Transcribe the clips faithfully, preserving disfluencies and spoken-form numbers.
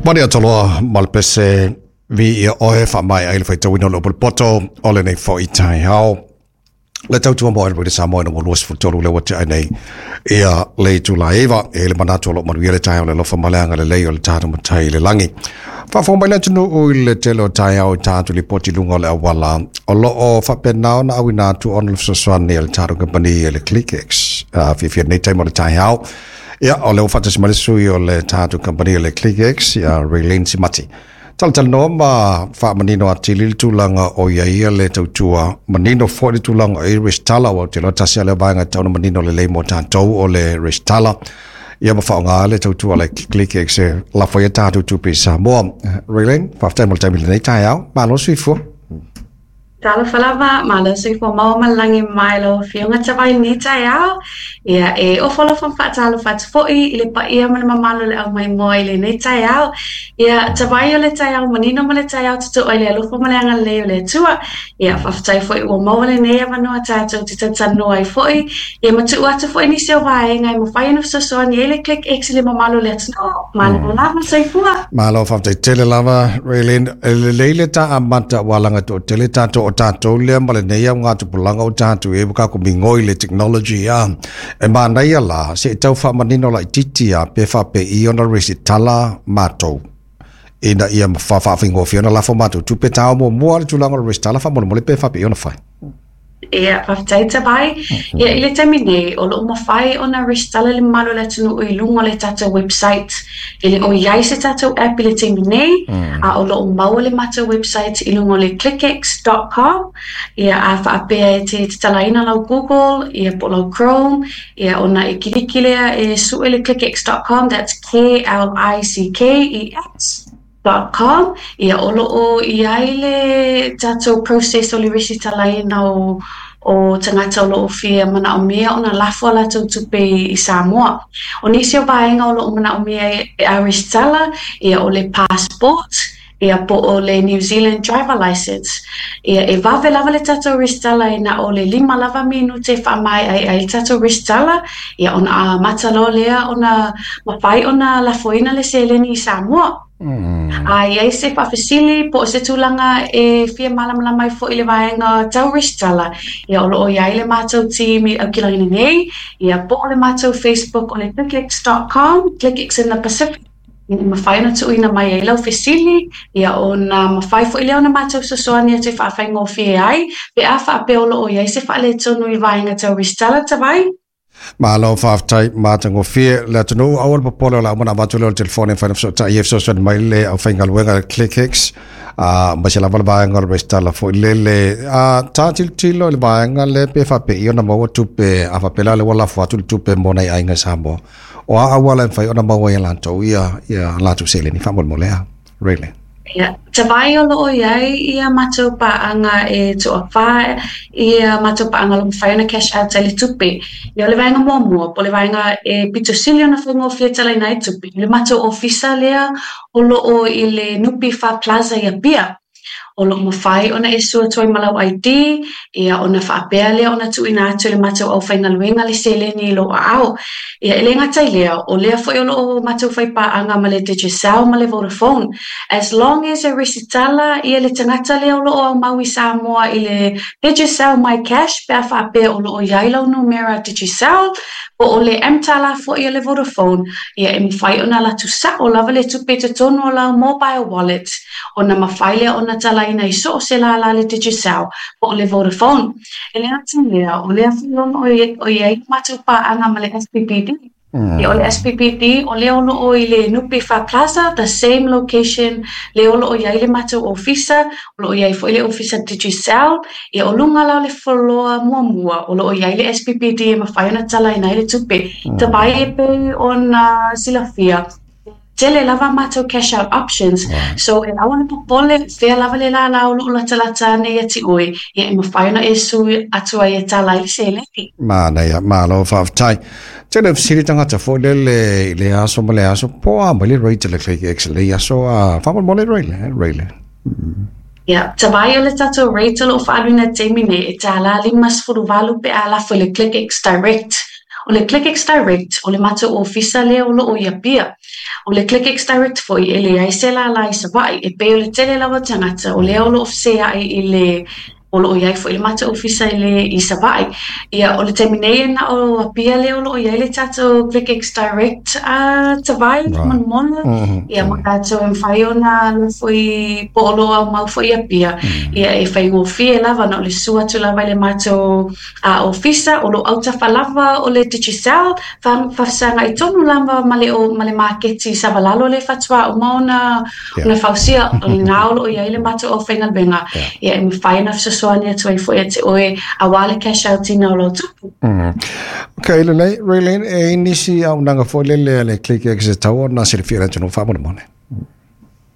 Mani ataloa malpese vi ia oe wha mai ai le whaitauina o le upole poto o le nei fo i taeao. Le tautua mo le Samoa na mo luas futolu le wate ai nei ia le tula eva e le manatu o lo manuia le taeao le lofa maleanga le lei o le tātou matai le langi. Whaafo mai le atunu o i le tele o taeao i tātou li poti lunga o le awala o lo o whapenao na awina atu ona le fesoasoani le tātou company e le ClickX. Uh, Fiafia nei taimo le taeao. Ia o le o whatasi mai le sui o le tātou company e le ClickX ia Raylene Simati. Talatala ma wha manino atili le tulaga o ia ia le tautua manino foi le tulaga o i resitala ua te loa tasi a lea vaega e tatau ona manino lelei mo tatou o le resitala ia ma faaaogā le tautua le ClickX e lafo ai tatou tupe i Samoa. Raylene, faafetai mo le taimi lenei taeao, malo soifua. Talofa lava, malo soifua maua ma le lagi mai lau afioga Tavai ni taeao. Ia e ofo alofa ma faatalofa atu foi i le paia ma le mamalu o le aumaimoa i lenei taeao. Ia Tavai o le taeao manino ma le taeao totoa i le alofa ma le agalelei o le Atua. Ia faafetai foi ua maua lenei avanoa tatou te talatalanoa ai foi. Ia ma tuu atu foi nisi o vaega e mafai ona fesoasoani ai le ClickX i le mamalu o le atunuu. Malo lava soifua. Malo faafetai tele lava Raylene. E lelei le taamata ua laga toatele tatou o tatou lea ma lenei augatupulaga o tatou e ka migoi le technology a e manaia la se tau faamanino laitiiti a pe faapei ona resitala matou ina ia faafaigofie ona lafo matou tupe tao muamua le tulaga o le resitala faamolemole pe faapei ona fai. Ia, faafetai Tavai. Ia, i le taimi nei, o loo mafai ona resitala le mamalu o le atunuu i luga o le tatou website. E le o i ai se tatou app i le taimi nei, a o loo maua le matou website i luga o le clickx dot com. Ia, a faapea e te tatalaina lau Google, ia po o lau Chrome, ia ona e kiliki lea e sue le clickx dot com, that's K L I C K E X dot com. Ia o loo i ai le tatou process o le resitalaina o o tagata o loo fia manaomia ona lafo a latou tupe i Samoa. O nisi o vaega o loo manaomia e a resitala, ia o le passport, ia po o le New Zealand driver license. Ia e vave lava le tatou resitala e na o le lima lava minute faamaea ai ai le tatou resitala, ia ona amata loa lea ona mafai ona lafoina le seleni i Samoa. Mm. A i ai se faafesili po o se tulaga e fia malamalama ai foi le vaega tau resitala, ia o loo i ai le matou team i Aukilagi nei, ia po o le matou Facebook o le clickx dot com, ClickX in the Pacific. Ia mafai ona tuuina mai ai lau fesili, ia ona mafai foi lea ona matou fesoasoani atu e faafaigofie ai, pe a faapea o loo i ai se faaletonu i vaega tau resitala Tavai. Malo faafetai matagofie le atunuu aua le popole o le a uma ona avatu lea o le telefone e mafai ona fesootai e fesoasoani mai le aufaigaluega ClickX a ma se lava le vaega o le resitala foi lele a tā tilotilo i le vaega le pe faapei ona maua tupe a faapea la le ua lafo atu le tupe mo nai aiga i Samoa o a auala e mafai ona maua ai e latou ia ia latou seleni faamolemole a Raylene. Ia, Tavai o loo i ai ia matou paaga e toafā ia matou paaga o lo mafai ona cash out ai le tupe. Ia o le vaega muamua, po o le vaega e pito sili ona faigofie talaina ai tupe. Le matou ofisa lea o loo i le N P F Plaza i Apia. O loo mafai ona e sua atu ai ma lau I D, ia ona faapea lea ona tuuina atu le matou aufaigaluega le seleni i lou aao. Ia e le gata i lea, o lea foi o loo matou faipaaga ma le Digicel ma le Vodafone. As long as e resitala ia le tagata lea o loo aumau i Samoa i le Digicel My Cash pe a faapea o loo i ai lau numera Digicel, po o le mTALA foi o le Vodafone, ia e mafai ona alu atu sao lava le tupe i totonu o lau mobile wallet, ona mafai lea ona talaina i so o se lālā le Digicel po o le Vodafone. E le gata i lea, o lea foi o i ai matou paaga ma le S P P D. Mm. Ia o le S P P D, o lea o loo i le N P F Plaza, the same location, le o loo i ai le matou ofisa, o loo i ai foi le ofisa Digicel, ia o luga la o le floor muamua, o loo i ai le S P P D e mafai ona talaina ai le tupe. Mm. Tavai e pei ona silafia, tele lava matou cash out options. Right. So e aua le popole, fea lava le lālā o loo latalata ane ia te oe, ia e mafai ona e sui atu ai e tala ai le seleni. Manaia, malo faafetai. Tele fesili tagata foi lele i le aso ma le aso po a mai le rate le ClickX le aso a faamolemole Raylene, Raylene. Ia, Tavai o le tatou rate o loo faaluina taimi nei e tālā lima sefulu valu pe a lafo i le ClickX Direct. O le ClickX Direct, o le matou ofisa lea o loo i Apia. O le ClickX Direct foi e leai se lala i Savaii, e pei o le tele lava o tagata o lea o loo feseai i le o loo iai foi le matou ofisa i le i Savaii. Ia, o le taimi nei e na o Apia lea o loo iai le tatou ClickX Direct a Tavai Manumona. Ia, ma tatou e mafai ona alu foi po o loo aumau foi i Apia. Ia, e faigofie lava na o le susu atu lava i le matou a ofisa o loo autafa lava o le Digicel, faafesagai tonu lava ma le ma le maketi Savalalo le faatoa uma ona ona fausia, o lena o loo iai le matou aufaigaluega. Ia, e mafai ona fesoasoani atu ai foi ia te oe aua le cash out ina o lau tupe. Ok, lelei, Raylene, e i nisi auaunaga foi lele a le ClickX e tatau ona silafia e le atunuu faamolemole.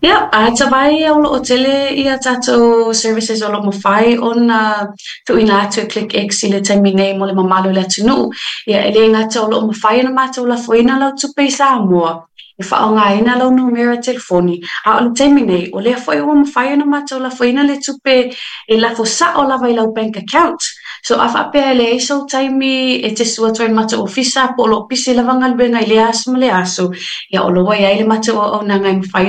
Ia, a Tavai, o loo tele ia tatou services o loo mafai ona tuuina atu e ClickX i le taimi nei mo le mamalu o le atunuu. Ia, e le gata o loo mafai ona matou lafoina lau tupe i Samoa, e faaaogaina lau numera telefoni, a o le taimi nei, o lea foi ua mafai ona matou lafoina le tupe e lafo sao lava i lau bank account. So a faapea e leai sou taimi e te susu atu ai i le matou ofisa po o loo pisi lava galuega i lea aso ma le aso, ia o lo ua iai le matou auaunaga e mafai